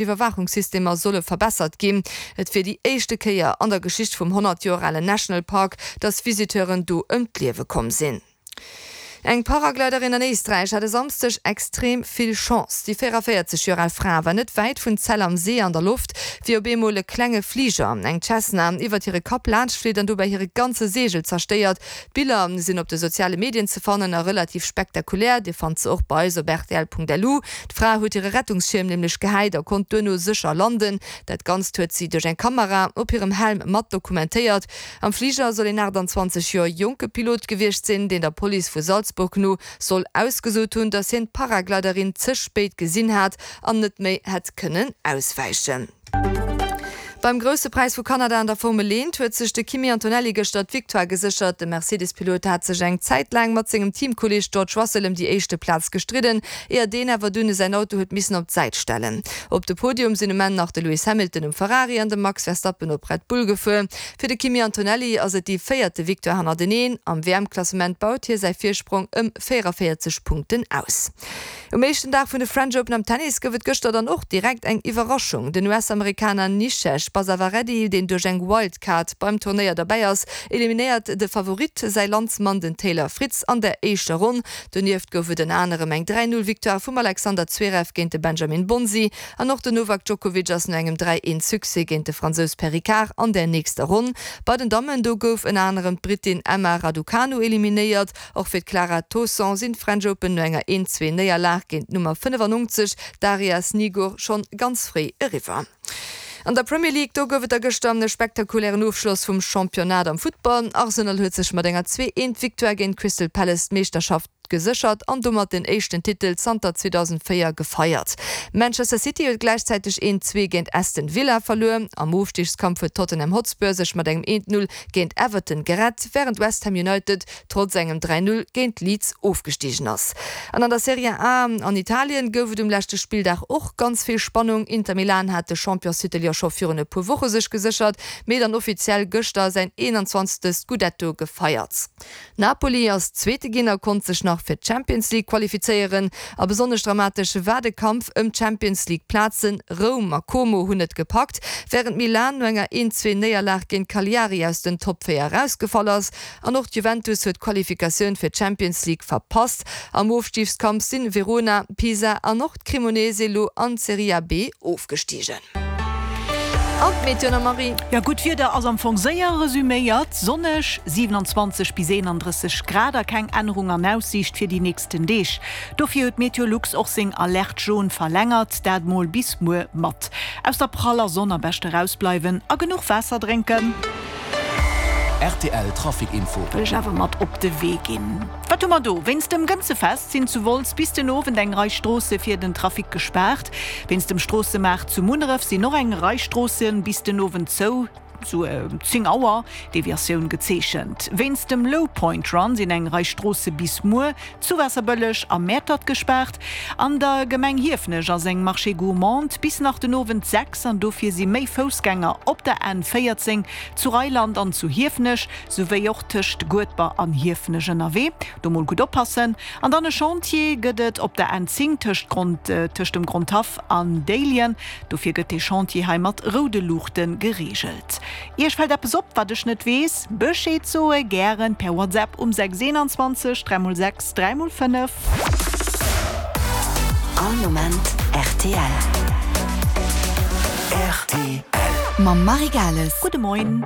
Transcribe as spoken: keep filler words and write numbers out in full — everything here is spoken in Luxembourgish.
Iwwerwaachungssystemer solle verbessert ginn. Et wier déi éischte Kéier an der Geschicht vum honnert Joer alen National Park, datt Visiteuren do ëm d'Liewe komm sinn. Eng Paragliderin an Éisträich hat e Samsdeg extrem vill Chance. Déi véierundavéierzeg Joer al Fra war net wäit vun Zell am See an der Loft, wéi op eemol e klenge Fliger, eng Cessna, iwwert hire Kapp laanschtflitt an dobäi hire ganze Seegel zerstéiert. D'Biller sinn op de soziale Medien ze fannen a relativ spektakulär. Dir fannt se och bei eis op rtl.lu. D'Fra huet hire Rettungsschierm nämlech gehäit a konnt duerno sécher landen. Dat Ganzt huet si duerch eng Kamera op hirem Helm mat dokumentéiert. Am Fliger soll een aachtanzwanzeg Joer jonke Pilot gewiescht sinn, deen der Police vu Salzburg no soll ausgesot hunn, datt hien d'Paragliderin ze spéit gesinn hat an net méi hätt kënnen auswäichen. Beim Grousse Präis vu Kanada an der Formel eent huet sech de Kimi Antonelli gëschter d'Victoire geséchert. De Mercedes-Pilot hat sech eng Zäit laang mat sengem Teamkolleeg George Russell ëm déi éischte Plaz gestridden, éier deen awer dunn säin Auto huet missen op d'Säit stellen. Op de Podium sinn um Enn nach de Lewis Hamilton um Ferrari an de Max Verstappen op Red Bull gefuer. Fir de Kimi Antonelli ass et déi véierte Victoire hannerteneen. Am W M-Klassement baut hie säi Virsprong ëm véierundavéierzeg Punkten aus. Um éischten Dag vun de French Open am Tennis gouf et gëschter dann och direkt eng Iwwerraschung. Den U S-Amerikaner Nishesh Basavareddy, deen duerch eng Wildcard beim Turnéier derbäi ass, eliminéiert de Favorit, säi Landsmann den Taylor Fritz an der éischter Ronn. Donieft gouf et ënner anerem eng dräi-null-Victoire vum Alexander Zverev géint de Benjamin Bonzi an och den Novak Djokovic ass no engem dräi-eent-Succès géint de Fransous Perricard an der nächster Ronn. Bei den Dammen, do gouf ënner anerem d'Brittin Emma Raducanu eliminéiert. Och fir d'Clara Tauson sinn d'French Open no enger eent-zwee-Néierlag géint d'Nummer fënnefannonzeg Daria Snigur schonn ganz fréi eriwwer. An der Premier League, do gouf et da gëschter e spektakulären Ofschloss vum Championnat am Futtball. Arsenal huet sech mat enger zwee-eent-Victoire géint Crystal Palace d'Meeschterschaft geséchert an domat den éischten Titel zanter zweedausendvéier gefeiert. Manchester City huet gläichzäiteg eent zwee géint Aston Villa verluer. Am Ofstigskampf huet Tottenham Hotspur sech mat engem eent null géint Everton gerett, wärend West Ham United trotz engem dräi null géint Leeds ofgestigen ass. An an der Serie A an Italien gouf et um leschte Spilldag och ganz vill Spannung. Inter Milan hat de Championstitel jo scho virun e puer Woche sech geséchert, mee dann offiziell gëschter säin eenanzwanzegste Scudetto gefeiert. Napoli ass Zweete ginn a konnt sech nach fir d'Champions League qualifizéieren. A besonnesch dramatesch war de Kampf ëm d'Champions League Plazen. Roum a Como hunn et gepackt, wärend Milan no enger eent-zwee Néierlag géint Cagliari aus den Top véier erausgefall ass. An och d'Juventus huet d'Qualifikatioun fir d'Champions League verpasst. Am Ofstigskampf sinn Verona, Pisa an och d'Cremonese elo an d'Serie A B ofgestigen. An d'Meteo nach, Marie. Jo, gutt Wieder ass am Fong séier resuméiert, sonneg, siewenundzwanzeg bis eenandrësseg Grad a keng Ännerung an Aussiicht fir déi nächsten Deeg. Dofir huet Meteolux och seng Alerte jaune verlängert, dat mol bis muer mat. Aus der praller Sonn am beschte rausbleiwen a genuch Waasser drénken. R T L Trafic Info. Wëll ech awer mat op de Wee ginn. Wat hu mer do? Wéinst dem Gënzefest sinn zu Wolz bis den Owend eng Rei Stroosse fir den Trafic gespaart. Wéinst dem Stroossemaart zu Munneref sinn och eng Rei Stroosse bis den Owend zou, zu zéng Auer, Deviatioun gezeechent. Wéinst dem Low Point Run sinn eng Rei Stroosse bis muer zu Waasserbëlleg a Mäertert gespaart. An der Gemeng Hiefenech ass eng Marche gourmande bis nach den Owend sechs an dofir si méi Foussgänger op der N véierzéng zu Reiland an zu Hiefenech, souwéi och tëscht Guedber an Hiefenech ënnerwee. Do mol gutt oppassen. An dann e Chantier gëtt et op der N zéng tëscht Grond, tëscht dem Grondhaff an Déiljen. Dofir gëtt dee Chantier hei mat roude Luuchte gereegelt. Iech fält eppes op, wat ech net weess? Bescheed soe gären per WhatsApp um sechs eenanzwanzeg dräi mol sechs dräi mol fënnef. All Moment R T L. R T L. Mam Marie Gales. Gudde Moien.